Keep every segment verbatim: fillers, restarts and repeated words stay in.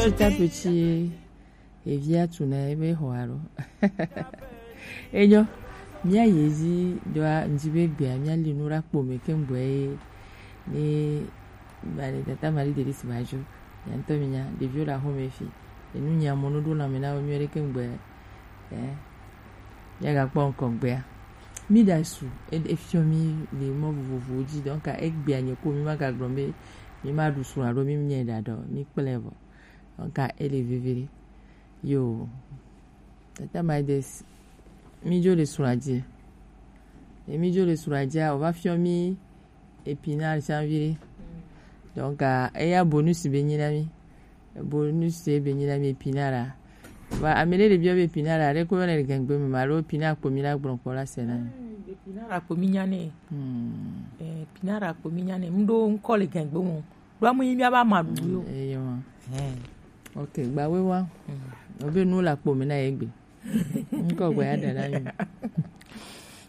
Petit à petit, evia tuna ebe xɔ alo. Enyo, mía yi edzi ɖoa, ŋdi be gbea mía li nu ɖe akpo me keŋgbɔ ye. Ni ba le tata Marie Delice Bajo. Nya ŋutɔ mi nya, ɖeviwo le axome fi. Enu nya mo nu ɖo lãme na wo nyuie ɖe keŋgbɔ. Eh. Míagakpɔ ŋkɔ gbea. Mí ɖa su, e- efiɔ mí le mɔ vovovowo dzi. Donc egbea nye ko mí magagblɔ be mí ma ɖu su alo mí nye ɖa ɖɔ mí kplɛ vɔ. Donc ele veve ɖe. Yo. Tata Maides, mí dzo le srɔ̃a dzi. E mí dzo le srɔ̃a dzia, wòva fiɔ mí epinal tsã viɖe. Donc ah, eya bonus be nyi na mí. Bonus ye be nyi na mí epinal a. Va ame ɖe le biɔ be epinal a ɖe ko yɔna le gangbe me ma alo epinal kpo mí la gblɔ kpɔ la se na mí. Epinal kpo mí nya nɛ. Hmm. Eh, epinal kpo mí nya nɛ. Mɖo ŋkɔ le gangbe mo. Ɖo amu yi mía ba ma ɖu yo. Eyo ma. Eh. Ok, gba we wa. Hmm. Obe nu la kpo mí na ye gbe. Ŋkɔ gbe ya ɖe na mí.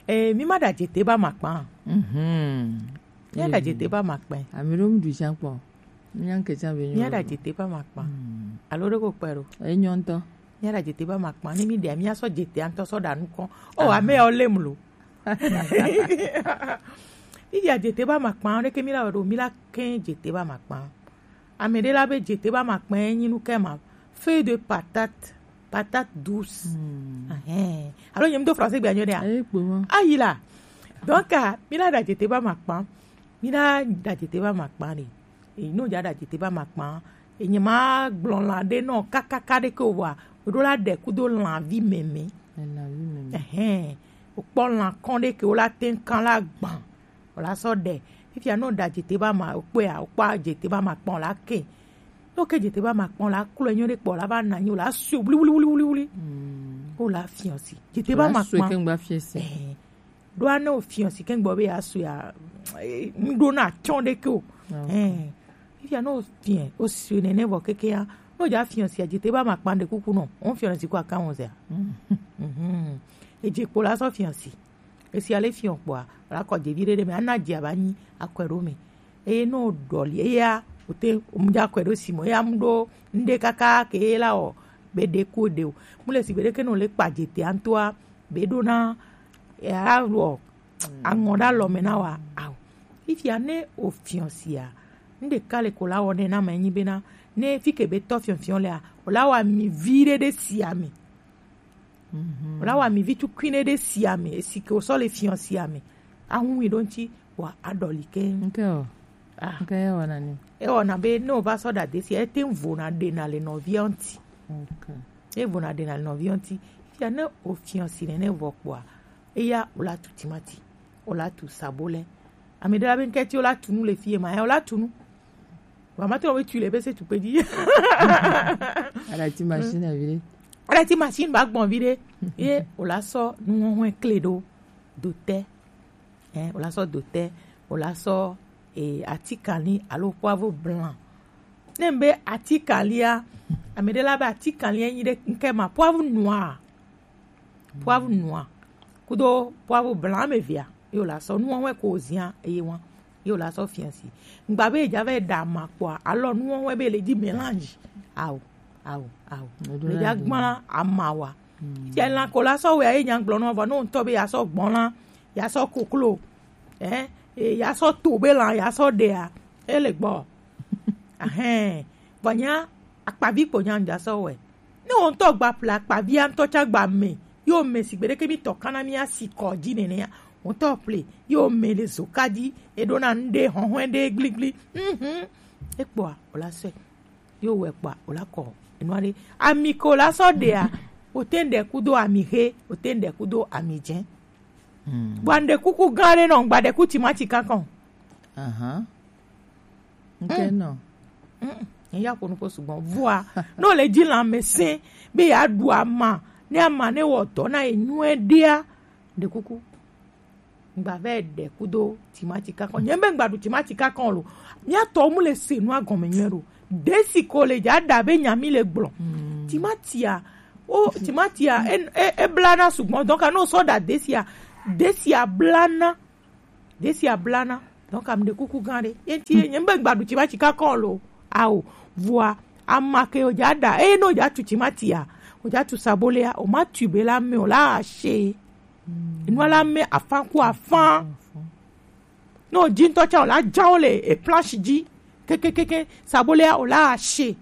Eh, mí ma ɖa jete ba ma kpa. Mhm. Mía ɖa jete ba ma kpa. Ame ɖewo mu ɖu tsã kpɔ. Mía ŋke tsã be nyɔ. Mía ɖa jete ba ma kpa. Hmm. Alo ɖe ko kpe ɖo. Enyɔ ŋutɔ. Mía ɖa jete ba ma kpa. Ne mí ɖea, mía sɔ jete ŋutɔ sɔ ɖa nukɔ. Oh, ame yawo lem lo. Mí ɖa jete ba ma kpa, ɖeke mí la wɔ ɖo, mí la kɛ jete ba ma kpa. Ame ɖe la be jete ba ma kpa enyi nu kɛ ma. Feuille de patate, patate douce. Hmm. Ahɛn. Alo nyem do français gbe anyo ɖea. Ayi la. Donc ah, mí la ɖa jete ba ma kpa. Mí la ɖa jete ba ma kpa ɖe. E no ja ɖa jete ba ma kpa. Enye ma gblɔ la ɖe nɔ kakaka ɖe ke wa. Ɖo la ɖe kudo la vi meme. La vi meme. Ehɛn. O kpɔ la kɔn ɖe ke o la ten kan la gban. O la sɔ ɖe. Fifia no ɖa jete ba ma o kpɔa, o kpɔ jete ba ma kpɔn la ke. No ke jete ba ma kpɔn la klo enyo ɖe kpɔ la ba na nyo la su wli wli wli wli wli. Hmm. O la fiɔ si. Jete ba ma kpɔn. Ke ngba fiɔ si. Ehɛn. Ɖoa ne o fiɔ si keŋ gbɔ be ya su ya, eh, ŋɖo na tsɔ ɖe ke o. Ok. Eh, fifia ne o fiɔ, o su nene vɔ keke ya. Ne o ja fiɔ si a jete ba ma kpan ɖe kuku nɔ. O fiɔ si ko aka wɔn zea. Mm. Mhm. Eje kpo la sɔ fiɔ si. Esi ale fiɔ kpoa, la kɔ jevi ɖe ɖe me, ana dzi aba nyi akɔe ɖo me. Eye ne o ɖɔli, eya, o te, o mu ja kɔe ɖo si mo, eya mu ɖo ŋɖe kaka ke la o, be ɖe ko ɖe o. Mu le si gbe ɖe ke no le kpa jete antoa, be ɖo na ya wɔ aŋɔ ɖe alɔ me na wa ao. Fifia ne o fiɔ sia, nu ɖeka le ko la wɔ nɛ na me nyi bena ne fi ke be tɔ fiɔfiɔ lea, o la wa mi vi ɖe ɖe sia me. Mhm. O la wa mi vi tukui ɖe ɖe sia me, esi ke o sɔ le fiɔ sia me. Ahun mi ɖo ŋti wa aɖɔli ke. Nke o. Ah. Nke e wɔna ni. E wɔna be ne o va sɔ ɖa de sia, e te ŋ vo na ɖe na le nɔvia ŋti. Ok. E vo na ɖe na le nɔvia ŋti. Fia ne o fiɔ si nene vɔ kpoa, eya o la tu timati, o la tu sabole. Ame ɖe la be ŋkɛti o la tu nu le fie ma, ya o la tu nu. Wa ma to we tu le be se tu pe di. Ala ti machine a vire. Ala ti machine ba gbɔn vire. Ye o la sɔ nu hɔn kle ɖo do te. Eh, o la sɔ do te, o la sɔ eh, atikali alo poivre blanc. Ne be atikalia, ame ɖe la be atikalia nyi ɖe ŋkɛ ma poivre noir. Poivre noir. Kudo poivre blanc me via. Yo la sɔ nu wɔn ko zia eye wɔn. Yo la sɔ fiɔ si. Ngba be ja ve da ma kpoa, alɔ nu wɔn be le di mélange. Ao, ao, ao. Le ja gbla ama wa. Fia lan ko la sɔ we aye nya gblɔ nɔ vɔ no ŋtɔ be ya sɔ gbɔn la, ya sɔ koklo. Eh, eh, ya sɔ to be lan, ya sɔ ɖea. Ele gbɔ. Ahɛn. Vɔ nya akpavi kpo nya ŋdza sɔ wɛ. Ne wo ŋtɔ gba ple akpavia ŋtɔ tsa gba me, yo me sigbe ɖeke mi tɔ kana mi asi kɔ dzi nene ya. Wo ŋtɔ ple, yo me le zoka dzi, e ɖo na ŋɖe hɔhɔe ɖe gligli. Mhm. Ekpɔa, o la sɔe. Yo wɛ kpɔa, o la kɔ enua ɖe. Ami ko la sɔ ɖea, o te ɖe kudo ami he, o te ɖe kudo ami dze. Hmm. Bua ŋɖe kuku gã ɖe nɔ, ŋgba ɖe ku timati kakɔn. Ahan. Ŋke nɔ. Mm, mm. Eya ƒo nu ƒo sugbɔ. Vɔa, ne wòle dzi lãmesẽ be yeaɖu ama, ne ama ne wɔ dɔ na ye nyuie ɖea, ɖe kuku. Ŋgba vɛ ɖe kudo timati kakɔ. Nye be ŋgba ɖu timati kakɔ lo. Mía tɔwo mu le se nua gɔme nyuie ɖo. Desi ko le dza ɖa be nya mi le gblɔ. Mm. Timatia, o, timatia, e, e, e blana sugbɔ. Donc, ne wosɔ ɖa desia, desia blana. Desi ablana. Donc, ame ɖe kuku gã ɖe. Ye ŋti ye nye be gbaɖu tsi va tsi kakɔ lo. Ao. Vɔa, Ama ke o ja da, e no ja tu timati ya, o ja tu sabole ya, o ma tu be la me o la ashe. Enu la me afan ku afan. No ji ŋutɔ tsa o la ja o le e planche ji. Kekekeke, sabole ya o la ashe.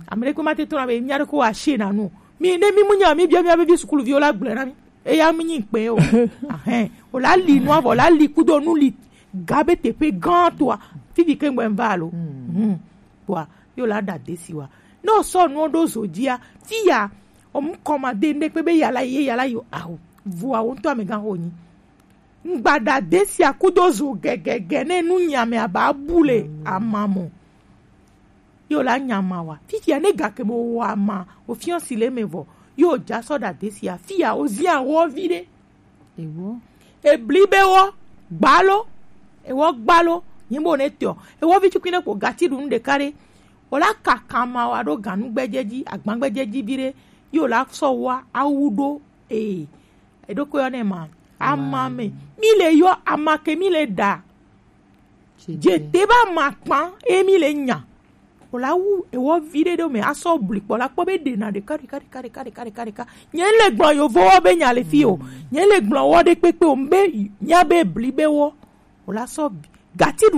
Ame ɖe kpe ma te tɔ na be mia ɖe ko ashe na nu. Mi ne mi mu nya mi bia mia be vi sukulu vi o la gblẽ na mi. Eya mi nyi kpe o. Ahɛn. O la li nu avɔ, o la li kudo nu li ga be teƒe gã toa. Fifi ke ŋgbɛ va lo. Hmm. Kpɔa, yo la da desi wa. Ne o sɔ nuwo ɖo zo dzia, fi ya, o mu kɔma de ŋɖe kpe be yala ye yala yo aho. Vua wo ŋutɔ amegã ho nyi. Ŋgbada desia kudo zo gɛgɛgɛ ne nu nyame aba bu le amamo. Yo la nyama wa. Fitia ne gake mo wa ma, o fiɔsi le me vɔ. Yo ja sɔ da desia, fia o zia wo vi ɖe. Ewo. Ebli be wo gbalo. Ewo gbalo. Nyi bo ne tɔ. Ewo vi tukui ne kpo gati ɖu nu ɖeka ɖe. O la kaka ma wa ɖo ganu gbɛdze dzi, agban gbɛdze dzi vi ɖe. Yo la sɔ wa awu ɖo. Ee. Eɖokui yɔ nɛ ma. Ama me. Mi le yɔ ama ke mi le da. Jete ba ma kpan e mi le nya. O la wu ewɔ vi ɖe ɖo me asɔ bli kpɔ la kpɔ be ɖe na ɖeka ɖeka ɖeka ɖeka ɖeka ɖeka ɖeka. Nye le gblɔ yovo wɔ be nya le fi o. Nye le gblɔ wɔ ɖe kpekpe o be nya be bli be wɔ. O la sɔ gati